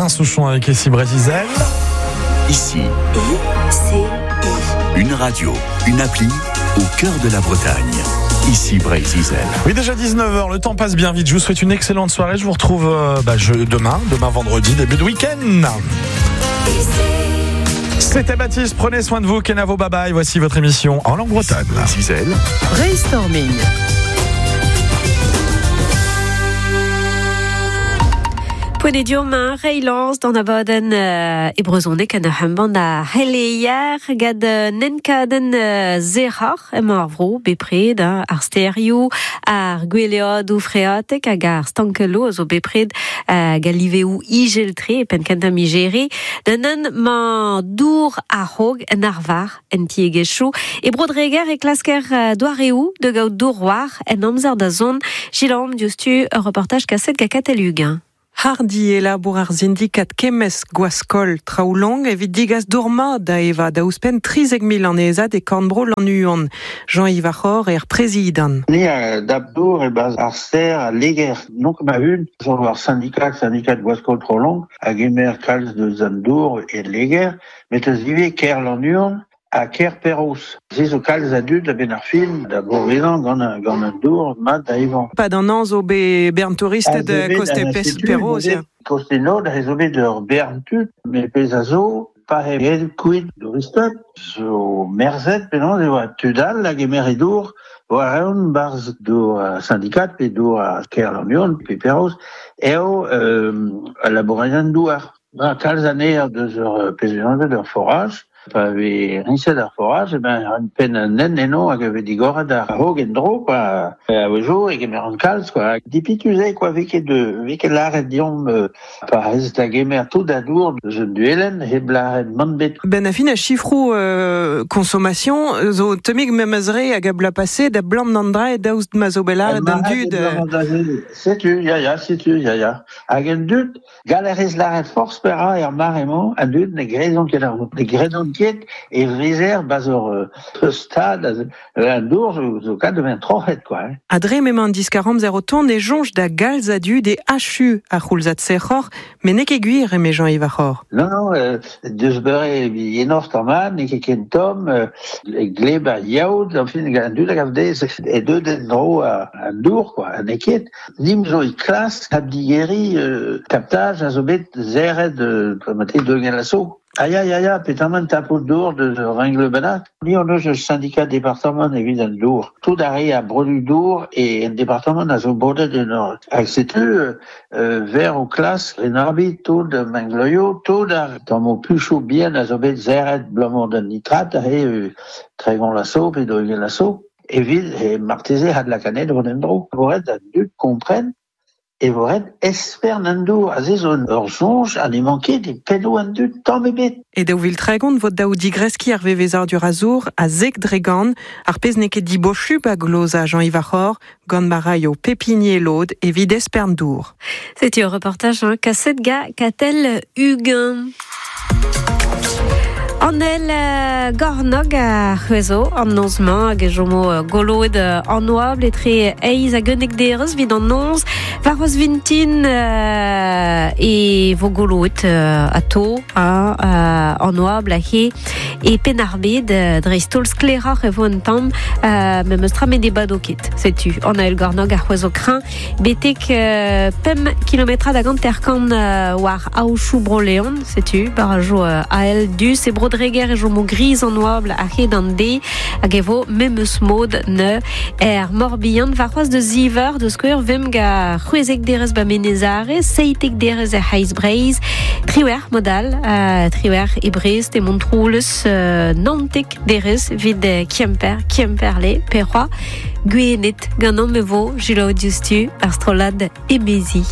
Alain Souchon avec Ici Brésil. Ici, I, C, I. une radio, une appli au cœur de la Bretagne. Ici Brésil. Oui, déjà 19h, le temps passe bien vite. Je vous souhaite une excellente soirée. Je vous retrouve demain, demain vendredi, début de week-end. C'était Baptiste, prenez soin de vous, Kenavo, bye bye. Voici votre émission en langue bretonne. Brésil. Brainstorming. Poent eo deomp reiñ d'an abadenn e brezhoneg an ur embann a c'heleier gant nenkadenn zeroc'h emañ ar vro bepred, hein, ar stêrioù, ar gweleadoù freatek hag ar stankelloù a zo bepred hag al liveoù izel-tre e penn kentañ miz Here. Da neuze 'mañ dour a-raok en arvar en tiegezhioù. E Bro-Dreger e klasker doareoù da gaout dour war en amzer da zont. Selaomp diouzhtu ur reportaj kaset gant Katell Uguen. Hardi e labour ar sindikat kemmesk Gwaskol Traoulong evit digas dour mat da evañ da ouzhpenn 13 000 annezad e korn-bro Lannuon. Jean-Yves Ar C'horr eo ar prezidant. Ni a dap dour e-barzh ar stêr al Leger, n'on ket ma-un, zo ar syndikat, syndikat Gwaskol Traoulong, a gemer kalz deus an dour e Leger, met eus ivez kêr Lannuon ha kêr Perroz. Se zo kalz a dud a-benn ar fin da bourvezañ gant gant an dour mat da evañ. Pad an hañv zo bet bern touristed koste Perroz, ya. Koste Nod ez zo bet ur bern tud, met pezh a zo, pa eo kuit touristed, zo merzet penaos e oa tud all a gemere dour war-eeun 'barzh dour ar syndikat pe dour ar kêr Lannuon pe Perroz, eo al labourerien douar. Ba kalz anezhañ deus ur pezh anvet ur foraj. Pa vez riñset ar foraj, eh ben un penn an hent eno hag e vez digoret ar raok en-dro, quoi. A-wezhioù e gemeront kalz, quoi. Dipitus eo, quoi, vez ket vez ket lâret deomp pa rez da gemer tout a dour deus un duelenn hep lâret mann bet. Ben a fin a chifroù consommation zo tammig memes re hag a bloaz pase da blam d'an dra daoust ma zo bet lâret d'an dud. Setu, ya, ya, setu, ya, ya. Hag an dud, Gall a rez lâret forzh petra er mare-mañ, an dud ne gredont ket ar ne gredont ket e vezer 'barzh ur stad an dour zo kat da vezañ troc'het quoi. Hein. Ha dre m'emañ an diskar-amzer o tont e soñj da galz a dud e achu ar c'houlzad sec'hoc'h, met n'eo ket gwir eme Jean-Yves Ar C'horr. Non, non, deus beure yenoc'h tamm n'eo ket ken tomm, gleb ar yaout, enfin, an dud a gav dezhe e deuet en-dro an dour, quoi, ha n'eo ket. Nim zo e klask addigeriñ kaptaj a zo bet serret mate deuget a-so. Ah ya, ya, ya, petamant tapout dour deus ur rengleu bennak. Ni hon eus ur syndicat departamant evit an dour. Tout ar re a brodu dour e en departamant a zo bodet en ur. Hag setu ver o klask renabi tout mengleioù, tout ar tammoù puchoù bihan a zo bet serret abalamour d'an nitrat aze 30 laso pe 20 laso. Evit he marteze adlakaat vont en-dro. E vo ret d'an dud kompren e vo ret espern an dour. Aze zo ur soñj ha n'emañ ket e pennoù an dud tamm ebet. E 2030 vo dav digreskiñ ar vevezadur a zour a 10%, ar pezh n'eo ket dibosupl a gloza Jean-Yves Ar C'horr gant ma raio pep hini e lod evit espern dour. Setu ur reportaj hein, kaset ga Katell Uguen. An el gornog a c'hwezo an noz-mañ hag e chomo goloet an oabl etre eizh hag unnek derez evit an noz. Warc'hoazh vintin e vo goloet atao an oabl aze e Penn-ar-Bed. Dreist-holl sklaeroc'h e vo un tamm, memes tra met ne bado ket. Setu an ael gornog a c'hwezo kreñv Betek pemp kilometrad hag hanter-kant war aochoù Bro-Leon, setu barajoù ael dus. E Bro-Dreger e chomo griz an oabl a-hed an deiz hag e vo memes mod neu er Morbihan. Warc'hoazh da ziv eur, da skouer, vemp gant c'hwezek derez ba Menez-Are, 17 derez er C'hreiz-Breizh, triwec'h mod all, triwec'h e Brest, e Montroulez, 19 derez evit Kemper, Kemperle, Perrois, Gwened. Ganeomp e vo selaou diouzhtu ar strollad Emezi.